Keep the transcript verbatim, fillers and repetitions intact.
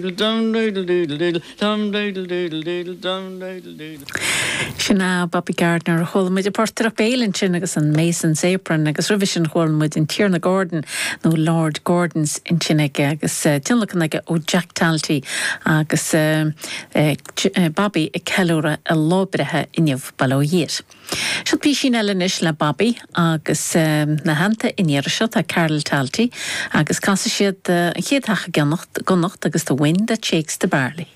Dum doodle doodle doodle dum doodle doodle doodle dum doodle doodle. Sin é Bobby Gardiner chuala muid an portaireacht béil ansin agus an Mason's Apron agus roimhe sin chuala muid an Tiarna Gordon nó Lord Gordon's ansin aige agus uh, tionlacan aige ó Jack Talty agus uh, uh, Bobby ag ceiliúradh a lá breithe inniu bail ó Dhia air. Seo písín eile anois le Bobby agus um, ina theannta an iarraidh seo tá Carol Talty agus casfaidh siad uh, an chéad theach i gConnacht agus the wind that shakes the barley.